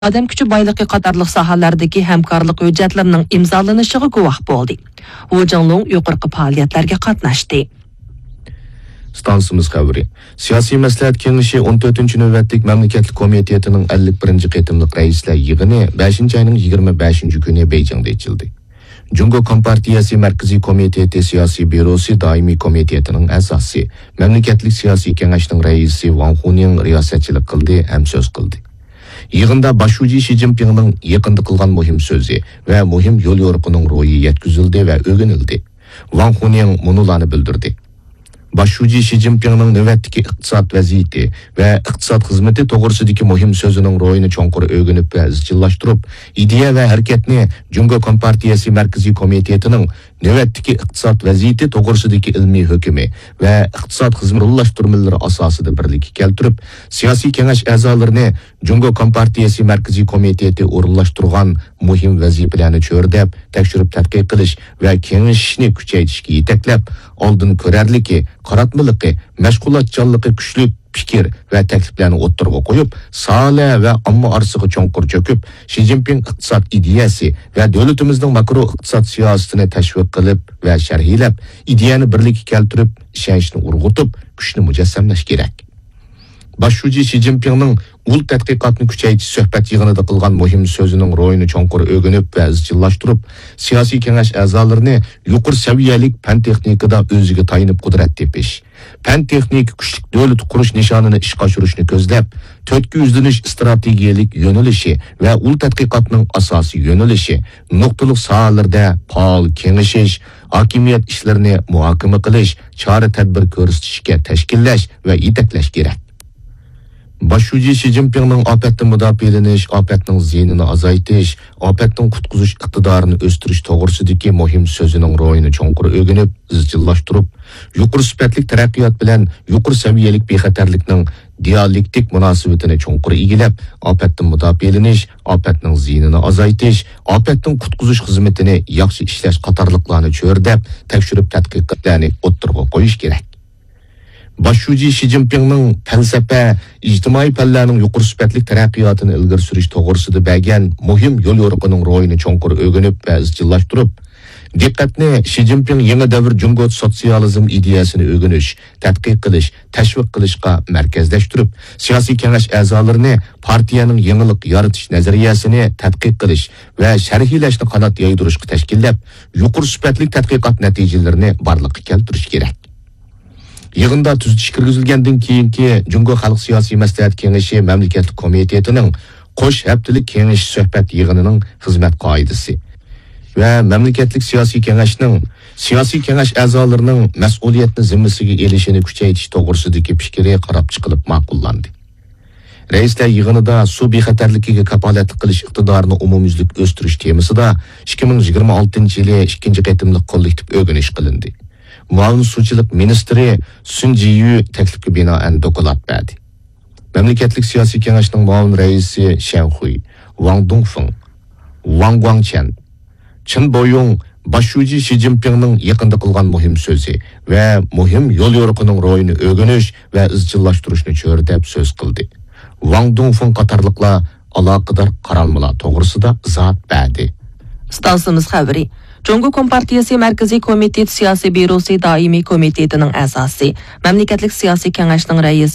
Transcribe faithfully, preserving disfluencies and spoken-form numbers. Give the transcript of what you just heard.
ئادەم كۈچى بايلىقى قاتارلىق ساھەلەردىكى ھەمكارلىق ھۆججەتلىرىنىڭ ئىمزالىنىشىغا گۇۋاھ بولدى. ۋۇ جىڭلۇڭ يۇقىرىقى پائالىيەتلەرگە قاتناشتى. ئىستانسىمىز خەۋىرى. سىياسىي مەسلىھەت كېڭىشى ئون تۆتىنچى نۆۋەتلىك مەملىكەتلىك كومىتېتىنىڭ ئەللىك بىرىنچى قېتىملىق رەئىسلەر يىغىنى بەشىنچى ئاينىڭ يىگىرمە بەشىنچى كۈنى بېيجىڭدا ئېچىلدى. جۇڭگو كومپارتىيەسى مەركىزىي كومىتېتى سىياسىي بيۇروسى دائىمىي كومىتېتىنىڭ ئەزاسى، مەملىكەتلىك سىياسىي كېڭەشنىڭ رەئىسى ۋاڭ خۇنىڭ رىياسەتچىلىك قىلدى ھەم سۆز قىلدى. يىغىندا باش شۇجى شى جىنپىڭنىڭ يېقىندا قىلغان مۇھىم سۆزى ۋە مۇھىم يوليورۇقىنىڭ روھى يەتكۈزۈلدى ۋە ئۆگىنىلدى. ۋاڭ خۇنىڭ مۇنۇلارنى بىلدۈردى. باش شۇجى شى جىنپىڭنىڭ نۆۋەتتىكى ئىقتىساد ۋەزىيىتى ۋە ئىقتىساد خىزمىتى توغرىسىدىكى مۇھىم سۆزىنىڭ روھىنى چوڭقۇر ئۆگىنىپ ۋە ئىزچىللاشتۇرۇپ، ئىدىيە ۋە ھەرىكەتنى جۇڭگو كومپارتىيەسى مەركىزىي كومىتېتىنىڭ نۆۋەتتىكى ئىقتىساد ۋەزىيىتى توغرىسىدىكى ئىلمىي ھۆكۈمى ۋە ئىقتىساد خىزمىتى ئورۇنلاشتۇرمىلىرى ئاساسىدا بىرلىككە كەلتۈرۈپ، سىياسىي كېڭەش ئەزالىرىنى جۇڭگو كومپارتىيەسى مەركىزىي كومىتېتى ئورۇنلاشتۇرغان مۇھىم ۋەزىپىلەرنى چۆرىدەپ، تەكشۈرۈپ تەتقىق قىلىش ۋە كېڭىشىشنى كۈچەيتىشكە يېتەكلەپ، ئالدىن كۆرەرلىكى، قاراتمىلىقى، مەشغۇلاتچانلىقى كۈچلۈك پىكىر ۋە تەكلىپلەرنى ئوتتۇرىغا قويۇپ، ساھە ۋە ئامما ئارىسىغا چوڭقۇر چۆكۈپ، شى جىنپىڭ ئىقتىساد ئىدىيەسى ۋە دۆلىتىمىزنىڭ ماكرو ئىقتىساد سىياسىتىنى تەشۋىق قىلىپ ۋە شەرھلەپ، ئىدىيەنى بىرلىككە كەلتۈرۈپ، ئىشەنچنى ئۇرغۇتۇپ، كۈچنى مۇجەسسەملەش كېرەك. باش شۇجى شى جىنپىڭنىڭ ئۇل تەتقىقاتنى كۈچەيتىش سۆھبەت يىغىنىدا قىلغان مۇھىم سۆزىنىڭ روھىنى چوڭقۇر ئۆگىنىپ ۋە ئىزچىللاشتۇرۇپ، سىياسىي كېڭەش ئەزالىرىنى يۇقىرى سەۋىيەلىك پەن تېخنىكىدا ئۆزىگە تايىنىپ قۇدرەت تېپىش، پەن تېخنىكا كۈچلۈك دۆلىتى قۇرۇش نىشانىنى ئىشقا ئاشۇرۇشنى كۆزلەپ، تۈرتكە يۈزلىنىش ئىستراتېگىيەلىك يۆنىلىشى ۋە ئۇل تەتقىقاتنىڭ ئاساسىي يۆنىلىشى، نۇقتىلىق ساھەلىرىدە پائال كېڭىشىش، ھاكىمىيەت ئىشلىرىنى مۇھاكىمە قىلىش، چارە-تەدبىر كۆرسىتىشكە تەشكىللەش ۋە يېتەكلەش كېرەك. باش شۇجى شى جىنپىڭنىڭ ئاپەتتىن مۇداپىئەلىنىش، ئاپەتنىڭ زىيىنىنى ئازايتىش، ئاپەتتىن قۇتقۇزۇش ئىقتىدارىنى ئۆستۈرۈش توغرىسىدىكى مۇھىم سۆزىنىڭ روھىنى چوڭقۇر ئۆگىنىپ، ئىزچىللاشتۇرۇپ، يۇقىرى سۈپەتلىك تەرەققىيات بىلەن يۇقىرى سەۋىيەلىك بىخەتەرلىكنىڭ دىئالېكتىك مۇناسىۋىتىنى چوڭقۇر ئىگىلەپ، ئاپەتتىن مۇداپىئەلىنىش، ئاپەتنىڭ زىيىنىنى ئازايتىش، ئاپەتتىن قۇتقۇزۇش خىزمىتىنى ياخشى ئىشلەش قاتارلىقلارنى چۆرىدەپ، تەكشۈرۈپ تەتقىق قىلىشلارنى ئوتتۇرىغا قويۇش كېرەك. باش شۇجى شى جىنپىڭنىڭ پەلسەپە، ئىجتىمائىي پەنلەرنىڭ يۇقىرى سۈپەتلىك تەرەققىياتىنى ئىلگىرى سۈرۈش توغرىسىدا بەرگەن مۇھىم يوليورۇقىنىڭ روھىنى چوڭقۇر ئۆگىنىپ ۋە ئىزچىللاشتۇرۇپ، دىققەتنى شى جىنپىڭ يېڭى دەۋر جۇڭگو سوتسىيالىزم ئىدىيەسىنى ئۆگىنىش، تەتقىق قىلىش، تەشۋىق قىلىشقا مەركەزلەشتۈرۈپ، سىياسىي كېڭەش ئەزالىرىنى پارتىيەنىڭ يېڭىلىق يارىتىش نەزەرىيەسىنى تەتقىق قىلىش ۋە شەرھلەشنى قانات يايدۇرۇشقا تەشكىللەپ، يۇقىرى سۈپەتلىك تەتقىقات نەتىجىلىرىنى بارلىققا كەلتۈرۈش كېرەك. يىغىندا تۈزىتىش كىرگۈزۈلگەندىن كېيىنكى جۇڭگو خەلق سىياسىي مەسلىھەت كېڭىشى مەملىكەتلىك كومىتېتىنىڭ قوش ھەپتىلىك كېڭىشىش سۆھبەت يىغىنىنىڭ خىزمەت قائىدىسى ۋە مەملىكەتلىك سىياسىي كېڭەشنىڭ سىياسىي كېڭەش ئەزالىرىنىڭ مەسئۇلىيەتنى زىممىسىگە ئېلىشىنى كۈچەيتىش توغرىسىدىكى پىكرى قاراپ چىقىلىپ ماقۇللاندى. رەئىسلەر يىغىنىدا سۇ بىخەتەرلىكىگە كاپالەتلىك قىلىش ئىقتىدارىنى ئومۇميۈزلۈك ئۆستۈرۈش تېمىسىدا ئىككى مىڭ يىگىرمە ئالتىنچى يىلى ئىككىنچى قېتىملىق كوللېكتىپ ئۆگىنىش قىلىندى. مۇئاۋىن سۇچىلىق مىنىستىرى سۈن جىيۈ تەكلىپكە بىنائەن دوكلات بەردى. مەملىكەتلىك سىياسىي كېڭەشنىڭ مۇئاۋىن رەئىسى شەن خۇي، ۋاڭ دۇڭفېڭ، ۋاڭ گۇاڭچيەن، چېن بويۇڭ باش شۇجى شى جىنپىڭنىڭ يېقىندا قىلغان مۇھىم سۆزى ۋە مۇھىم يوليورۇقىنىڭ روھىنى ئۆگىنىش ۋە ئىزچىللاشتۇرۇشنى چۆرىدەپ سۆز قىلدى. ۋاڭ دۇڭفېڭ قاتارلىقلار ئالاقىدار قارالمىلار توغرىسىدا ئىزاھات بەردى. ئىستانسىمىز خەۋىرى. جۇڭگو كومپارتىيەسى مەركىزىي كومىتېتى سىياسىي بيۇروسى دائىمىي كومىتېتىنىڭ ئەزاسى، مەملىكەتلىك سىياسىي كېڭەشنىڭ رەئىسى